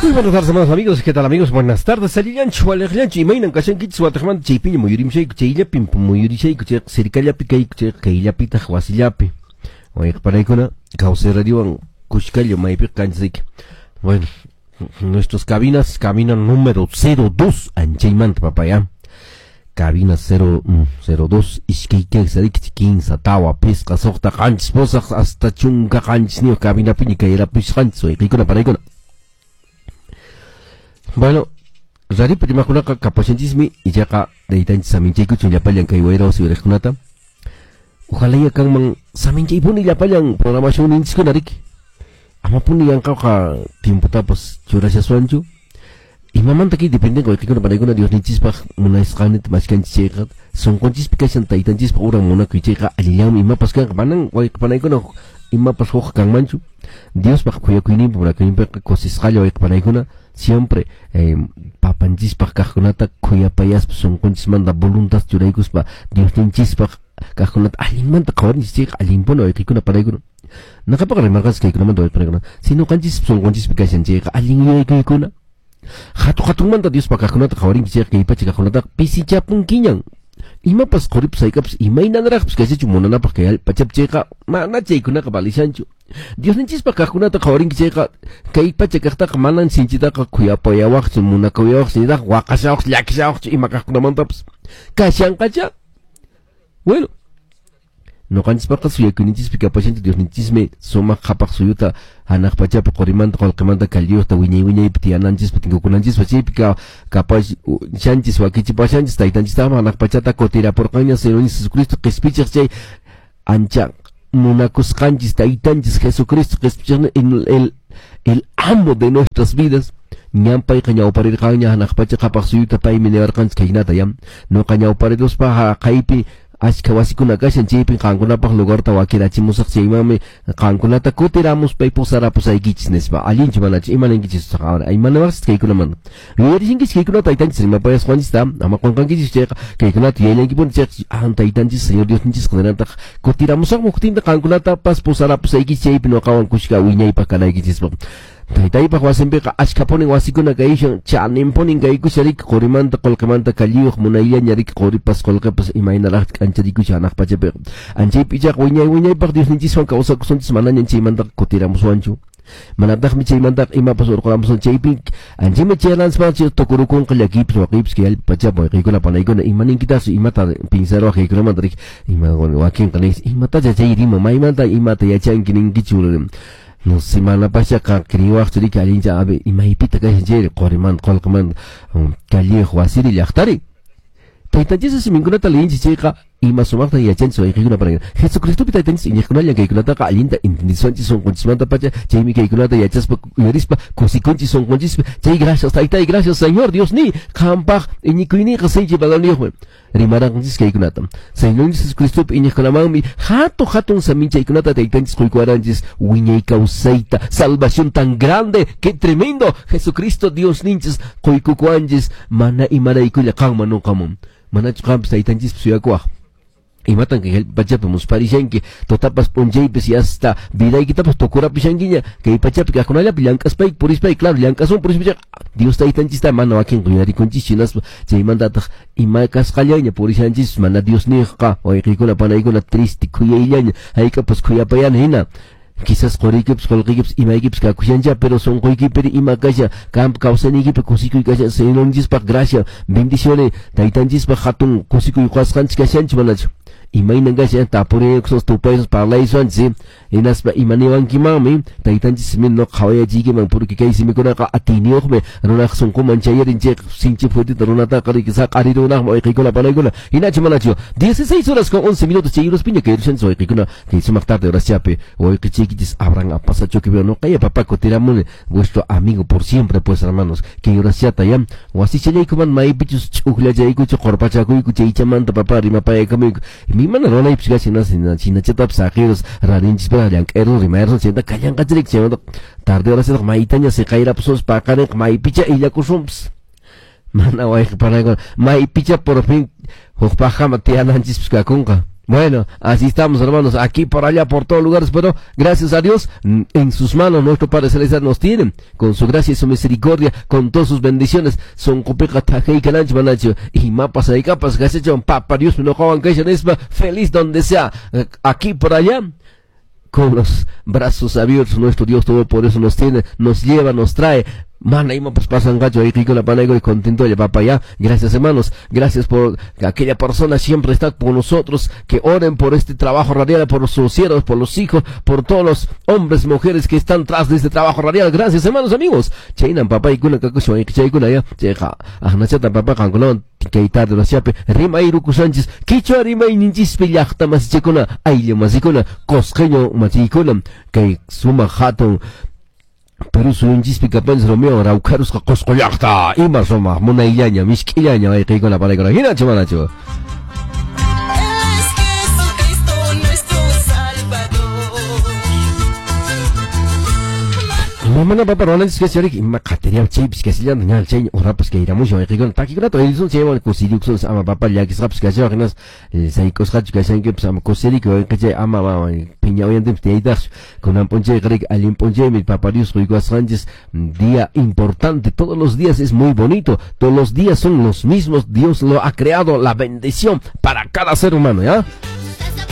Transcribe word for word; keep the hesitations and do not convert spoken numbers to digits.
Muy buenas tardes, amados amigos. ¿Qué tal, amigos? Buenas tardes. Allillanchu, waliqllanchu, imaynan kashankichis wataqmanta chaypiña muyurimshayku, chayllapi muyurishayku, chayqa sirkallapi kayku, chayqa kayllapitaq wasillapi. Wayqipanaykuna, Kawsay Radiowan kushkallo maypiqa kanchis. Bueno, nuestras cabinas, cabina número cero dos, anchaymanta, papá, ya. Cabina cero dos, iskay kaq kinsa tawa pisqa suqta qanchis pusaq hasta chunka qanchisniyuq cabinapiña kayrapusqanchis wayqikuna panaykuna. Bueno, raripi rimakunaqa kapashanchismi ichaqa taytanchis saminchaykuchun llapallan kay wayra wasi uyariqkunata. Ojalá ya kanman saminchaypuni llapallan programacionninchiskuna riki. Amapuni yanqaqa tiempotapas churashaswanchu. Imamanta kay dependen wayqikuna panaykuna Diosninchispaq munasqanita mashkanchis chayqa sunqunchispi kashan taytanchispaq uran munakuy chayqa allillanmi imapas kanqa manan wayqi panaykuna imapas huk kanmanchu. Diospaq khuyakuyninpi munakuyninpiqa kusisqalla wayqi panaykuna siempre eh, papanchispaq kaqkunata khuyapayaspa sunqunchismanta voluntad churaykuspa Diosninchispaq kaqkunata allinmanta qhawarinchis chayqa allinpuni wayqikuna panaykuna. Naqapaqa rimarqanchis kaykunamanta wayqi panaykuna si ñuqanchispa sunqunchispi kashan chayqa allin yuyaykuykuna. Hatu hatunmanta Diospaq kaqkunata qhawarinchis chayqa kay pacha kaqkunataqa pisichapunkiñan. Imapas quripas haykapas imaynanraqpas kashachu munanapaq kay pachapi chayqa mana chaykunaqa valishanchu. Diosninchispaq kaqkunata qhawarinki chayqa kay pacha kaqtaqa manan sinchitaqa khuyapayawaqchu munakuyawaqchu nitaq waqashawaqchu llakishawaqchu ima kaqkunamantapas kashanqacha. Bueno, ñuqanchispaqqa suyakuyninchispi kapashanchis Diosninchismi sumaq qhapaq suyuta hanaq pachapi qurimanta qullqimanta kalliyuqta wiñay wiñaypi tiyananchispa tinkukunanchispa chaypi kapashanchis wakichipashanchis taytanchistaqmi hanaq pachata kutirapurqanña Señor Jesucristo qispichiq chay ancha munakusqanchis taytanchis Jesucristo qispichiqni el, el, el amo de nuestras vidas. Ñan payqa ñawparirqanña hanaq pacha qhapaq suyuta paymi niwarqanchis khaynata ya nuqa ñawpariruspa qaypi ashka wasikuna kashan chaypi qankunapaq lugarta wakirachimusaq chaymanmi qankunata kutiramuspay pusarapusaykichis nispa allinchu manachu ima ninkichis ahora imanawaqchis kaykunamanta yuyarishinkichis kaykunata taytanchis rimapayasqanchista ama qunqankichis chayqa kaykunata yuyallankipuni chayqa an taytanchis Señor Diosninchis qunanataq kutiramusaqmi huqtinta qankunatapas pusarapusaykichis chaypi nuqawan kushka wiñaypaq kanaykichispaq. Taytaypaq wasinpiqa ashkapunin wasikuna kayushan chaninpunin kaykusha riki qurimanta qullqimanta kalliyuq munayllaña riki quripas qullqipas imaynaraqta k'ancharikusha hanaq pachapiqa anchaypi ichaqa wiñay wiñaypaq Diosninchiswan kawsakusunchis manañan chaymantaqa kutiramuswanchu manataqmi chaymantaqa imapas urquramusun chaypi anchaymi chayananchis tukurukunqa llakiypis waqiypis kay allpa pachapi wayqiykuna panaykuna ima ninkitasu imata pinsaruwaq kaykunamanta riki ima wakinqa ninchis imatacha chay rima maymanta imata yachanki ninkichu. No semana pasada kriwaqchu riki allincha abe imaypita kashan chayri qurimanta qullqimanta kalliyuq wasiri llaqtari. Taytanchis siminkunata leyinchis chayqa ima sumaqta yachanchis wayqikuna para Jesucristopi taytanchis iñiqkunallan kaykunataqa allinta entendiswanchis sunqunchismanta pacha chaymi kaykunata yachaspa uyarispa kusikunchis sunqunchispi chay gracias taytay gracias Señor Dios ni qampaq iñikuyninqa sinchi valorniyuqmi rimaranchis kaykunata Señor Jesucristopi iñiqkunamanmi hatun hatun saminchaykunata taytanchis quykuwaranchis wiñay kawsayta salvación tan grande que tremendo Jesucristo Dios ninchis quykukuwanchis mana imaraykulla qanman nuqamun manachu qanpas taytanchispi suyakuwaq imatan kay pachapi musparishanki tutapas p'unchaypis y hasta vidaykitapas tukurapishankiña kay pachapi kaqkunallapi llank'aspayki purispayki claro llank'asun purispayki Dios taytanchista mana wakinqa yuyarikunchis hinaspa chaymantataq ima kasqallaña purishanchis mana Diosniyqa wayqiykuna panaykuna triste khuyayllaña hayk'apas khuyapayana hina quizás quriykipas qullqiykipas imaykipas kakushancha pero sunquykipiri ima kasha qampa kawsayniykipi kusikuy kashan Señorninchispaq gracia bendiciones taytanchispaq hatun kusikuy qasqanchis kashanchis manachu imaynan kashan tapuriykusos tupaysos parlaysuanchis hinaspa imaniwankimanmi taytanchis simin nuqa qhawayachiykiman porque kay simikunaqa atiyniyuqmi runaq sunquman chayarin chayqa sinchi fuertita runataqa riki saq'arirunaqmi wayqiykuna panaykuna hinachu manachu dieciséis horas con once minutos chay uraspiña kayrushanchis wayqiykuna kay sumaq tarde horaschapi wayqichiykichis Abraham Apasachoki nuqaya papá kutiramuni vuestro amigo por siempre pues hermanos kay uraschata ya wasichallaykuman maypichus ch'ukllachaykuchu qurpachakuyku chaychamanta papá rimapaykamuyku mana runaypis kashan chinachatapas saqirus raninchispaq llank'ayrun rimayrun chayta kallanqachirik chaymanta tarde horaschaqa maytaña siqayrapusunchis paqarinqa maypicha illakusunpas mana wayqi panaykuna maypicha por fin huk paqama tiyananchispis kakunqa. Bueno, así estamos, hermanos, aquí, por allá, por todos lugares, pero gracias a Dios, en sus manos nuestro Padre Celestial nos tiene, con su gracia y su misericordia, con todas sus bendiciones, son tajay kananch manacho, y mapas y capas, papá Dios no feliz donde sea, aquí, por allá, con los brazos abiertos, nuestro Dios Todopoderoso nos tiene, nos lleva, nos trae. Mana ima pues pasan gacho ahí con la panaigo y contento ya papá ya. Gracias, hermanos, gracias por aquella persona siempre está con nosotros, que oren por este trabajo radial, por los siervos, por los hijos, por todos los hombres, mujeres que están tras de este trabajo radial. Gracias, hermanos, amigos. Chainan papá y kuna kakusho y chaykuna ya. Cheja, ahnachata papá kankunawan kay tarde rasiape rimay rukusanchis kichwa rimayninchispi llaqta masichakuna ayllu masikuna cosqueño machikuna kay sumaq hatun Perú suyunchispi kapanchis Romeo Raukarusqa Qosqo llaqta ima sumaq munayllaña misk'illaña wayqiykuna panaykuna hinachu manachu. Es Jesucristo nuestro Salvador. Mamana papa ruwananchis kasharik ima qatiriam chaypis kasillanta ña chay urapas kayramushan wayqiykuna takikunata uyarisun chaywan kusiriykusun ama papa llakisqapas kashawaq hinas sayk'usqachu kashankipas ama kusirikuy wayqichay ama mama phiña uyantinpas tiyaytaqchu kunan p'unchayqa riki allin p'unchaymi papa Dios quykuwasqanchis día importante. Todos los días es muy bonito, todos los días son los mismos, Dios lo ha creado, la bendición para cada ser humano, ¿ya?